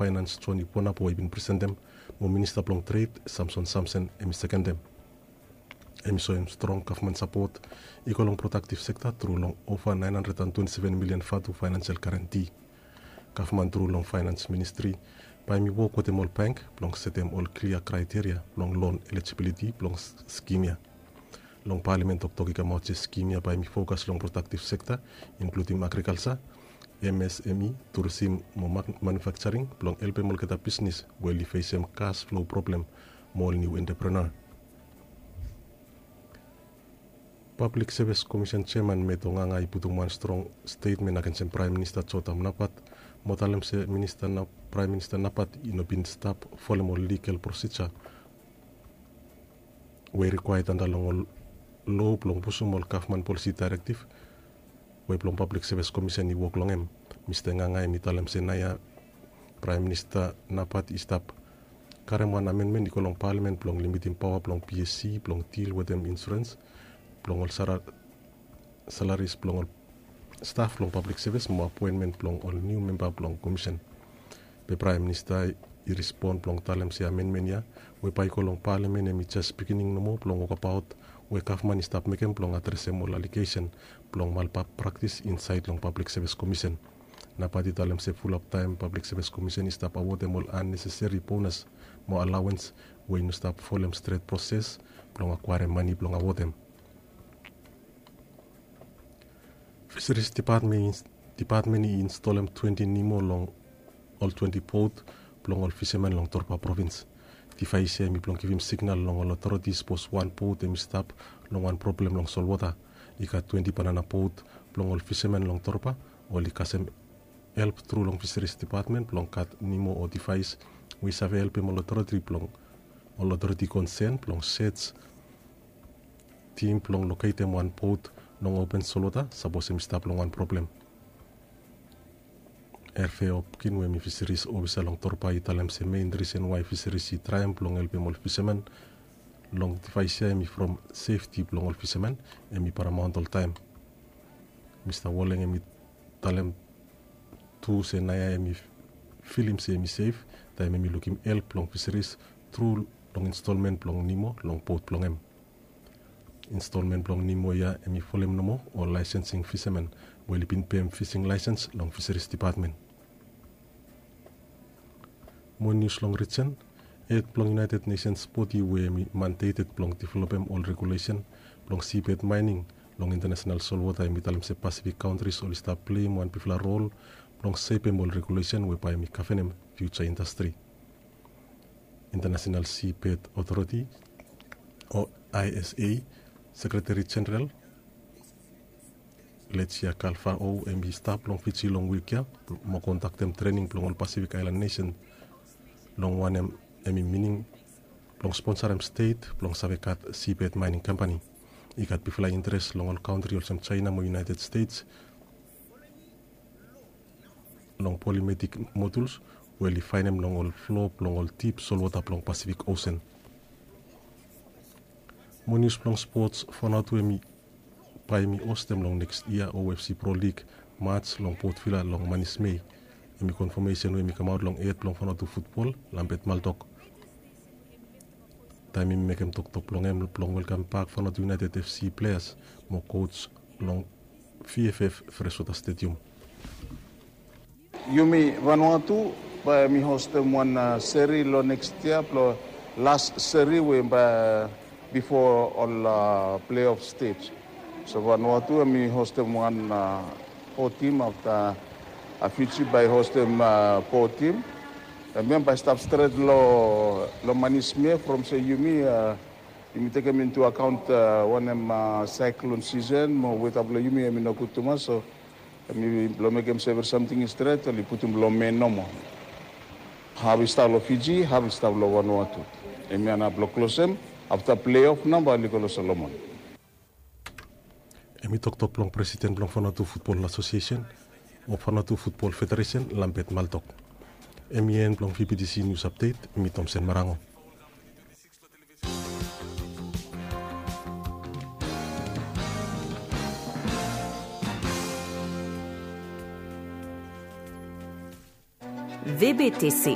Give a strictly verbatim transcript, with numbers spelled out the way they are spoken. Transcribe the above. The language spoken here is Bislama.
Faenans John Ipuanapo i bin presentem, mo Minista blong Tred Samson Samsen hemi sekendem. Hemi soem strong gavman sapot i go long prodaktiv sekta tru long ova naen handred an twenti seven milian vatu faenansial garanti. Gavman tru long faenans ministri bae hemi wok wetem ol bank blong setem ol klia kraeteria blong lon elijibiliti blong skim ya. Long palamen toktok i kamaot se skim ya bae hemi fokas long prodaktiv sekta, inkludim agrikalsa, M S M E, turisim mo manufaksaring blong helpem olgeta bisnis we oli fesem kas flo problem mo ol niu entreprenua. Pablik Sevis Komisen jeaman Meto Nganga i putum wan strong stetmen agensem Praem Minista Jotam Napat, mo talem se Minista na Praem Minista Napat i no bin stap folem ol ligal prosija we i rikwaea anda long ol loa blong pusum ol gavman polisi daerektiv we blong Pablik Sevis Komisen i wok long hem. Mista Nganga hemi talem se naoia Praem Minista Napat i stap karem wan amenmen i go long palamen blong limitim paoa blong P S C blong dil wetem insurens blong ol salaris blong ol staf blong pablik sevis mo apoenmen blong ol niu memba blong komisen. Be Praem Minista i respon blong talem se amenmen ya we bae i go long palamen hemi jes bigining nomo blong wokbaot we gavman i stap mekem blong adresem ol alegesen blong malpraktis insaed long Pablik Sevis Komisen. Napat i talem se fulap taem Pablik Sevis Komisen i stap awodem ol anneseseri bonas mo alawens we i no stap folem stret proses blong akwaerem mane blong awodem. Fiseris Dipatmen i instolem twenti nimo long ol twenti bot blong ol fisamen long Torba provins. Divaes ya hemi blong givim signal long ol otoriti sapos wan bot hemi stap long wan problem long solwota. I gat twenti banana bot blong ol fisamen long Torba oli kasem help tru long Fiseris Dipatmen blong gat nimo o divaes we i save helpem ol otoriti blong ol otoriti konsen blong sej tim blong loketem wan bot long open solwota sapos hemi stap long wan problem. Herve Hopkin we hemi fiseris ofisa long Torba i talem se mein risen wae fiseris i traem blong helpem ol fisamen long divaes ya hemi from sefti blong ol fisamen hemi paramaon oltaem. Mista Woleng hemi talem tu se naoia hemi filim se hemi sef taem hemi lukim help blong fiseris tru long instolmen blong nimo long bot blong hem. Instolmen blong nimo ya hemi folem nomo ol laesensing fisamen we oli bin pem fising laesens long Fiseris Dipatmen. Mo nius long rijen, hed blong United Nations bodi we hemi mandeted blong developem ol regulesen blong sibed maening long intanasenal solwota hemi talem se Pasifik kantris oli stap pleim wan bigfala rol blong sepem ol regulesen we bae hemi gavenem fiuja indastri. Intanasenal Sibed Otoriti o I S A Sekreteri Jeneral Lesia Kalfao hemi stap long Fiji long wik ya mo kondaktem trening blong ol Pasifik Aelan Nesen long wanem hemi mining blong sponsarem stet blong save gat sibed maening kampani. I gat bigfala interes long ol kantri olsem Jaena mo United States long polimetik moduls we oli faenem long ol flo blong ol dip solwota blong Pasifik Osen. Mo nius blong spots, Vanuatu hemi bae hemi hostem long nekst yia O F C Pro League mats long Port Vila long manis Mei. Hemi konfamesen we hemi kamaot long hed blong Vanuatu futbol, Lambert Maltok, taem hemi mekem toktok blong hem blong welkambak Vanuatu United F C pleas mo kos long V F F Freshwater Stadium. Yumi Vanuatu bae hemi hostem wan seri long nekst yia blong las seri we bae bifo ol pleof stej. So Vanuatu hemi hostem wan fo tim afta Fiji bae hostem fo tim. Hemia bae stap stret long manis Mei from se yumi yumi tekem intu akaont wanem saiklon sisen mo weta blong yumi hemi nogud tumas, so hemi blong mekem se evri samting i stret oli putum long Mei nomo. Haf i stap long Fiji, haf i stap long Vanuatu. Hemia nao blong klosem afta pleof nao bae oli go long Solomon. Hemi toktok blong presiden blong Vanuatu Futbol Asosiesen o Vanuatu Futbol Federesen, Lambert Maltok. Hemi en blong V B T C Nius Apdet, mi Tomsen Marango. V B T C